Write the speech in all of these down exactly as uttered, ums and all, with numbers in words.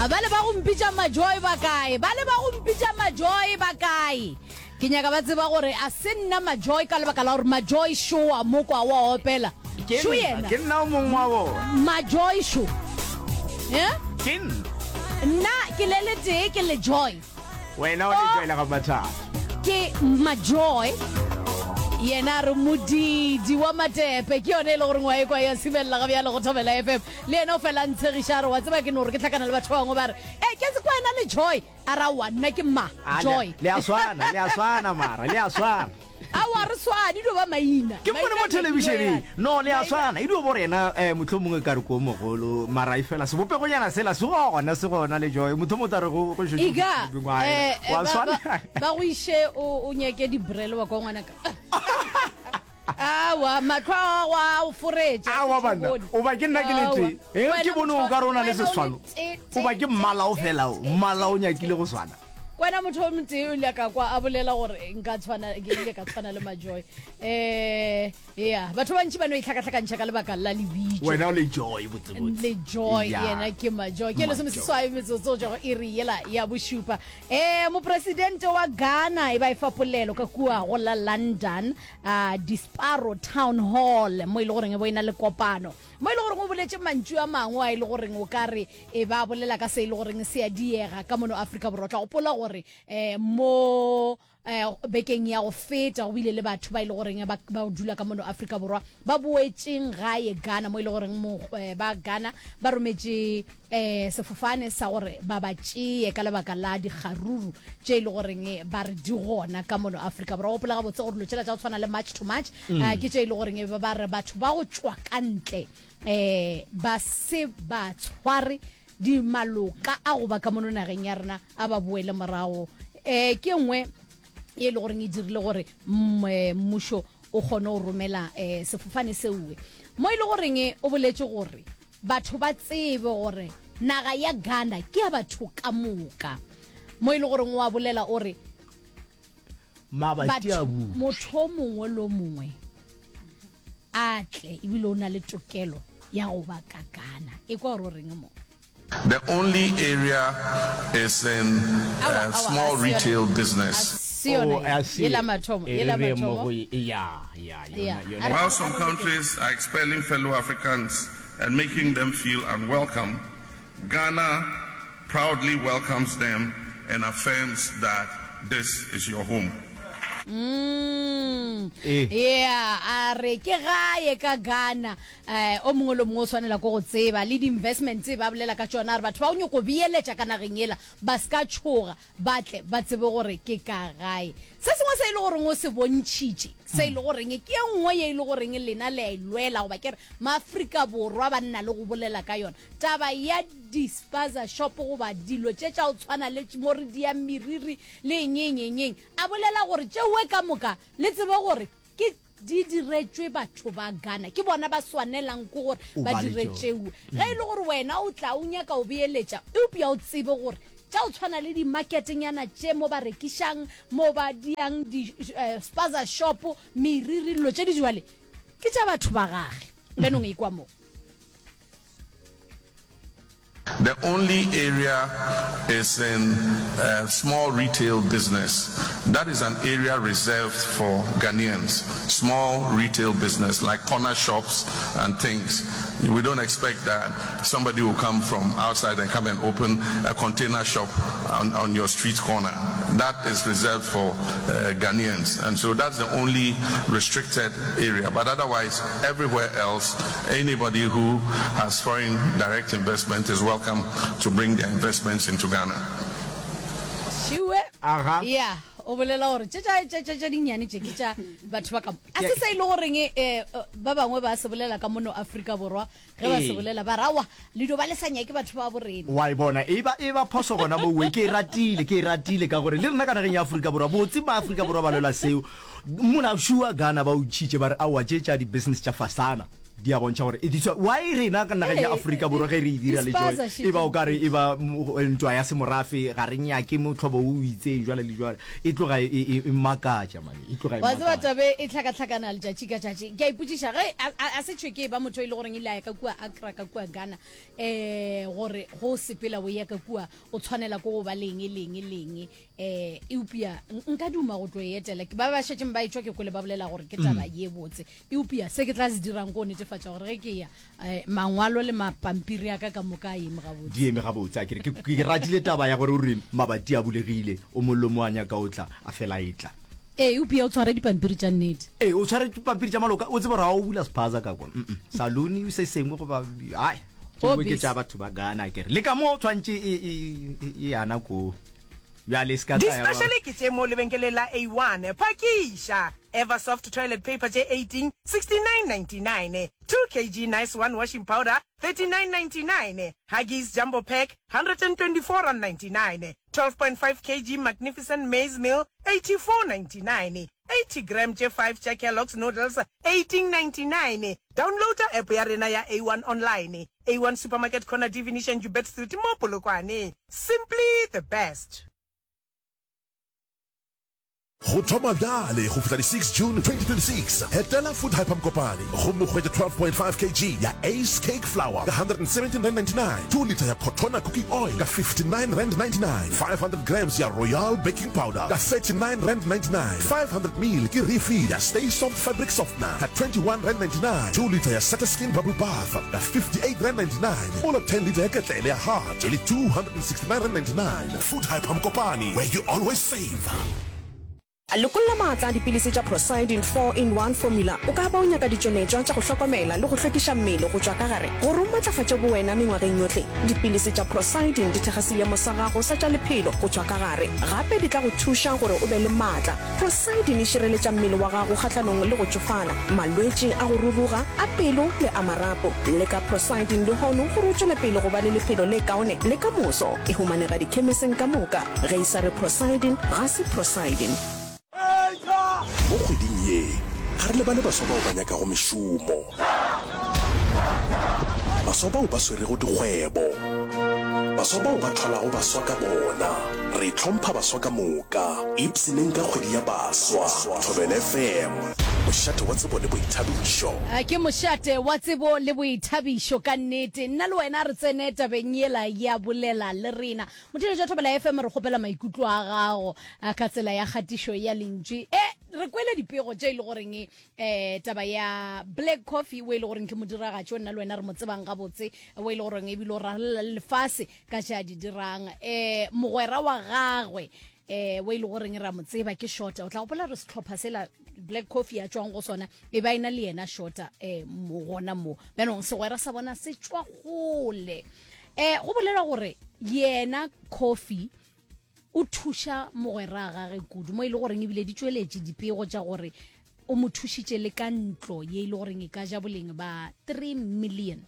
Ba le ba go mpitša Majoy ba kae? Ba le ba go mpitša Majoy ba kae? Ke nyaka ba tseba gore a se nna Majoy ka lebaka la gore Majoy Shoa mokwa wa opela. Ke Šo nna, yena. ke nna o mongwe wa bona. Majoy Sho. Eh? Ke nna. Nna ke le letee ke le Joy. Wena o le Joy la ga Mathata. Ke Majoy. Yena a re modidi wa matepe ke yone e le goreng wa ekwa ya simelela ga bjale go Thobela F M. Le yena o fela a ntshegiša a re wa tseba ke no gore ke hlakana le batho ba bangwe ba re e ke se kwa ena le Joy. A ra wa nna ke ma A, le a- Joy. le a swana, le a swana mara, le a swana. Aowa re swane, e dio ba maina. Ke mmone Maina mo a nyakile thelebišeneng. yana. No, le a Maina- swana. E dio bo rena, eh, mohlomongwe ka re ko mogolo, mara e fela sebopegonyana sela se gona, se gona le Joy. Motho mo tla re go, go šetše go Ika, fihlile mengwaga ena. eh, eh, Wa ba, swana. ba, ba go iše o, o nyake dibrele wa kwa ngwanaka. Aowa, mahlo a gago a o foretša, Aowa ke banna, bone. o ba ke nna ke le Aowa. tee. Eh, Wena ke bone o motho- ka re o na le wena o le seswano. tee, O ba tee, ke mmala o tee, fela o, tee, mmala o tee, nyakile tee. go swana. Kwena motho o motee o ile ka kwa a bolela gore nka tshwana, ke ile ka tshwana le Majoy. Eh, ya, batho ba bantši ba no itlhakatlhakantšha ka lebaka la lebitso. Wena o le Joy botsebotse. Le Joy, Ya. yena ke Majoy. Ke lesome Majoy. seswai metsotso go tšwa go iri yela ya bošupa. Eh, mopresidente wa Ghana e ba e fa polelo ka kua go la London, ah, Disparo Town Hall, mo e le goreng e bo e na le kopano. Mo e le goreng o boletše mantšu a mangwe a e le goreng o ka re e ba bolela ka se e le goreng se a diega ka mono Afrika Borwa. O tla gopola gore, eh, mo, eh, bekeng ya go feta go bile le batho ba e le goreng ba, ba dula ka mono Afrika Borwa ba boetšeng gae Ghana, mo e le goreng mo, eh, ba Ghana ba rometše, eh, sefofane sa gore ba ba tšee ka lebaka la dikgaruru tše e le goreng ba re di gona ka mono Afrika Borwa. Gopola gabotse gore dilo tšela tša go tshwana le March to March, Mm. eh, ke tše e le goreng ba ba re batho ba go tšwa ka ntle, eh, ba se ba tshware di maloka a go ba ka mono nageng ya rena a ba boele morago. Eh, ke nngwe e le goreng e dirile gore mm, eh, mmušo o kgone go romela, eh, sefofane seuwe. Mo e le goreng o boletše gore batho ba tsebe gore naga ya Ghana ke ya batho ka moka. Mo e le goreng o a bolela o re Mabati a batho, butšwe. motho o mongwe le o mongwe a tle ebile o na le tokelo ya go ba ka Ghana. E kwa gore o reng mo? The only area is in, Awa, uh, awa, small a se yona. retail business. A se yona Oh, a se ye. Yela yona. mathomo, E yela re re mo mathomo. go e, ya, ya, yona, Ya. yona. A re- While some countries are expelling fellow Africans and making them feel unwelcome, Ghana proudly welcomes them and affirms that this is your home. Mm. Eh. Yeah, a re ke gae ka Ghana. Eh, o mongwe le mongwe o swanela ko go tseba le di-investment tse ba bolela ka tšona, a re batho ba o nyoko beeletša ka nageng ela ba se ka tšhoga, ba tle ba tsebe gore ke ka gae. Se sengwe se e le goreng o se bontšhitše, se e le goreng ke e nngwe ye e le goreng lena le a e lwela, goba ke re maAfrika Borwa ba nna le go bolela ka yona, taba ya di-spaza shop goba dilo tše tša go tshwana le mo re diang meriri le eng, eng, eng, eng. A bolela gore tšeoe ka moka le tsebe gore ke di diretšwe batho ba Ghana, ke bona ba swanelang ke gore O ba ba le dire tšona. tšeoe. Ge e le gore wena o tla o nyaka o beeletša, eupša o tsebe gore tša go tshwana le di-marketenyana tše mo ba rekišang, mo ba diang di, eh, spaza shop, meriri, dilo tše di jwale ke tša batho ba gage. Benong e kwa mo. The only area is in, uh, small retail business. That is an area reserved for Ghanaians. Small retail business like corner shops and things. We don't expect that somebody will come from outside and come and open a container shop on, on your street corner. That is reserved for, uh, Ghanaians. And so that's the only restricted area. But otherwise, everywhere else, anybody who has foreign direct investment is welcome to bring their investments into Ghana. Šiwe. Aha. Yeah, o bolela gore tše tša, tša, tša, tša dinnyane tše ke tša batho ba ka mo. A se se e le goreng, eh, ba bangwe ba se bolela ka mono Afrika Borwa, ge ba se Ee. bolela ba ra, aowa, le dio ba le sa nyake batho ba borena. Wa e bona, e ba, e ba phoso gona moo, ke e ratile, ke e ratile ka gore le rena ka nageng ya Afrika Borwa, botse ba Afrika Borwa ba lwela seo. Mona šua Ghana ba o ntšhitše ba re, aowa, tše tša di-business tša fasana. Di a bontšha gore e diswa why rena ka nageng ya Afrika Borwa ge re e dira le Joy e ba o kare e ba ntwa ya semorafe ga re nyake mohlobo o itseng jwale le jwale e tloga e e e makatša mane e tloga e Wa tseba makatša. tabe e hlakahlakana letšatši ka tšatši. Ke a ipotšiša ge a, a, a se tšhwe ke ba motho e le goreng ile a ya ka kua Accra ka kua Ghana eh gore go sepela o ya ka kua o tshwanela ko go ba leng leng leng eh eupša nka duma go tlo e etela ba ba šetšeng ba etšwa ke kwele ba bolela gore ke taba ye botse eupša se ke tla se dirang ko netefatša gore ge ke ya eh, mangwalo le mapampiri a ka ka moka a eme gabotse di eme gabotse a kere ke ke ratile taba ya gore o re mabati a bulegile o mollo mo a nyaka o tla a fela e tla ee eupša o tshware dipampiri tša nnete ee o tshware dipampiri tša maloka o tsebe gore ga o bula sephaza ka kwa salone se sengwe goba ai O tšengwe ke busy. tša batho ba Ghana kere le ka mo tshwantše e e e- e yana ko bjale se ka tla ya ba- Di-special ke tše mo lebenkeleng la A one. Phakiša! Eversoft toilet paper tše eighteen, sixty-nine ninety-nine. Two kg Nice One washing powder, thirty-nine ninety-nine. Huggies Jumbo Pack, hundred and twenty-four rand ninety-nine. Twelve point five kg Magnificent Maize Meal, eighty-four ninety-nine. Eighty gram tše five tša Kellogg's Noodles, eighteen ninety-nine. Downloada app ya rena ya A one online. A one Supermarket Corner D Venetian Joubert Street mo Polokwane. Simply the best. Go thoma bjale go fihla di six June twenty twenty-six, etela Food Hyper Mokopane gomme o hwetše twelve point five kg ya Ace Cake Flour ka hundred and seventeen rand ninety-nine, two litre ya Cotona Cooking Oil ka fifty-nine rand ninety-nine, five hundred grams ya Royal Baking Powder ka thirty-nine rand ninety-nine, five hundred mil ke refill ya Stay Soft Fabric Softener ka twenty-one rand ninety-nine, two litre ya Satiskin Bubble Bath ka fifty-eight rand ninety-nine, mola ten litre ya ketlele ya Hart e le two hundred and sixty-nine rand ninety-nine. Food Hyper Mokopane, where you always save. Lokolla maatla a dipilisi tša Prosidin four in one formula. O ka ba o nyaka ditšweletšwa tša go hlokomela le go hlwekiša mmele go tšwa ka gare gore o matlafatše bowena mengwageng yohle. Dipilisi tša Prosidin di thekga seemo sa gago sa tša lephelo go tšwa ka gare. Gape di tla go thuša gore o be le maatla. Prosidin e šireletša mmele wa gago kgahlanong le go tšofala, malwetši a go ruruga, a pelo le a marapo. Leka Prosidin lehono gore o tšwele pele go ba le lephelo le kaone le ka moso. E humanega dikhemiseng ka moka. Ge e sa re Prosidin, ga se Prosidin. Mo kgweding ye, ga re lebale baswa bao ba nyakago mešomo, baswa bao ba swerego dikgwebo, baswa bao ba thwalago baswa ka bona. Re hlompha baswa ka moka. Ipshineng ka kgwedi ya baswa. Thobela F M, mošate wa tsebo le boithabišo. A ke mošate wa tsebo le boithabišo ka nnete. Nna le wena re tsene tabeng yela ya bolela le rena. Motheeletši wa Thobela F M re kgopela maikutlo a gago ka tsela ya kgatišo ya lentšu. E re kwele dipego tše e le goreng eh taba ya Black Coffee o e le goreng ke modiragatši o nna le wena re mo tsebang gabotse o e le goreng ebile o rarela le lefase ka tše a di dirang. Eh mogwera wa gagwe eh o e le goreng ra mo tseba ke Shota. O tla gopola re sehlopha sela Black Coffee ya tšwang go sona e ba ena le yena Shota eh mo gona mo. Bjanong segwera sa bona se tšwa kgole. Eh go bolela gore yena Coffee o thuša mogwera gage kudu mo e le goreng ebile di tšweletše dipego tša gore o mo thušitše le ka ntlo ye e le goreng e ka ja boleng ba three million.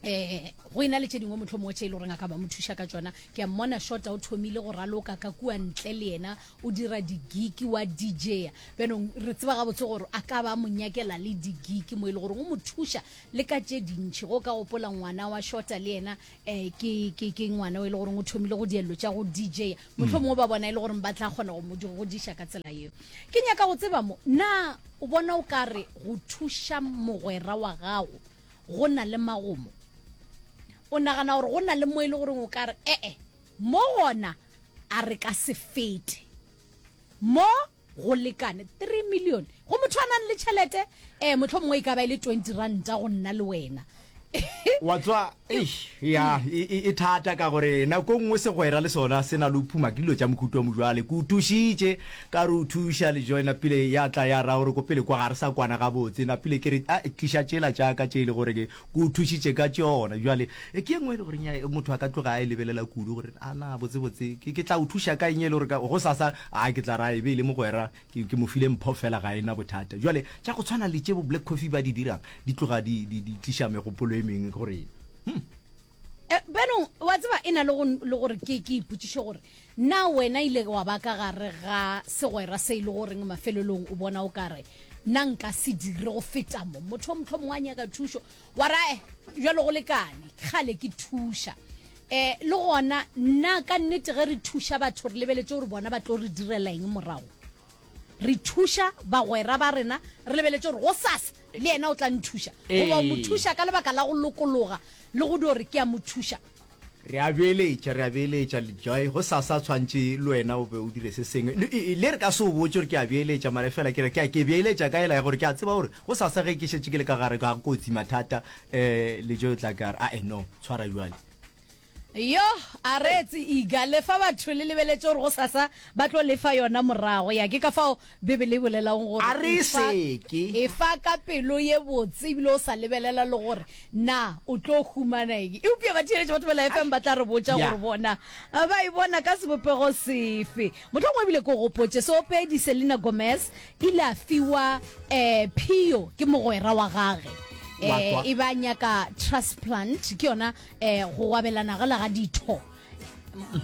Eh go ena le tše dingwe mohlomongwe tše e le goreng a ka ba mo thuša ka tšona. Ke a mmona Shota o thomile go raloka ka kua ntle le yena o dira di-gig wa D J. Bjanong re tseba gabotse gore a ka ba mo nyakela le di-gig mo e le goreng o mo thuša le ka tše dintši. Go ka gopola ngwana wa Shota le yena eh ke, ke, ke ngwana o e le goreng o thomile go diello tša go D J. Mohlomongwe ba bona e le goreng ba tla kgona go mo godiša ka tsela yeo. Ke nyaka go tseba mo, na o bona o ka re go thuša mogwera wa gago go na le magomo? O nagana gore go na le mo e le goreng o ka re ee mo gona a re ka se fete mo go lekane three million go motho a nang le tšhelete eh mohlomongwe e ka ba e le twenty ranta go nna le wena. Wa tswa, eish, ya, e, e, e thata ka gore nako nngwe segwera le sona se na le ho phuma ke dilo tša mohuta wa mojwale. Ke o thušitše, ka re o thuša le joina pele ya tla ya ra gore ko pele kwa ga re sa kwana gabotse. Napile ke re, a, tliša tšela tša ka tše e le gore ke, ke o thušitše ka tšona. Jwale, e, ke e nngwe e le gore nya, motho a ka tloga a e lebelela kudu gore, a na, botse botse, ke, ke tla o thuša ka eng e le gore ka, go sasa, a, ke tla ra e be e le mogwera, ke, ke mo file mpho fela ga e na bothata. Jwale, tša go tshwana le tše bo Black Coffee ba di dirang, di tloga di, di, di tliša megopolo e mengwe gore, hmm. Eh, bjanong, wa tseba e na le go, le gore ke, ke ipotšiše gore na wena ile wa ba ka gare ga segwera se e le goreng mafelelong o bona o ka re Nna nka se dire go feta mo. Motho mohlomongwe a nyaka thušo, wa ra eh, bjalo go lekane, kgale ke thuša. Um le gona nna ka nnete ge re thuša batho re lebeletše gore bona ba tlo re direla eng morago. Re thuša bagwera ba rena re lebeletše gore gosasa le yena o tla nthuša. Goba o mo thuša ka lebaka la go lokologa le go dio re ke a mo thuša. Re a beeletša, re a beeletša, Lejoy, gosasa tshwantše le wena o be o dire se sengwe. Le, le re ka se o botše gore ke a beeletša, mara efela ke re ke a, ke beeletša ka ela ya gore ke a tseba gore gosasa ge ke šetše ke le ka gare ga kotsi, mathata, um Lejoy o tla ka re, Ae, no, tshwara bjale. Yo, a reetse Iga, lefa batho le lebeletše gore gosasa ba tlo lefa yona morago. Ya, ke ka fao Bibele e bolelago gore A re efa, seke. efa ka pelo ye botse ebile o sa lebelela le gore na o tlo humana eng. Eupša batheeletši ba Thobela F M ba tla re botša Ya. gore bona ba e bona ka sebopego sefe. Mohlomongwe ebile ke o gopotše, seopedi Selena Gomez ile a fiwa um phio ke mogwera wa gage. Wa Um kwa. e ba nyaka transplant, ke yona um go gwabelana gela ga ditho.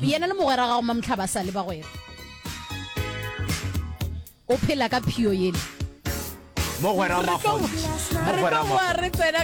Yena le mogwera gago Mamtlha ba sa le bagwera. O phela ka phio yele. Mogwera Re tlo makgonthe. re Mogwera tlo boa makgonthe. re tsena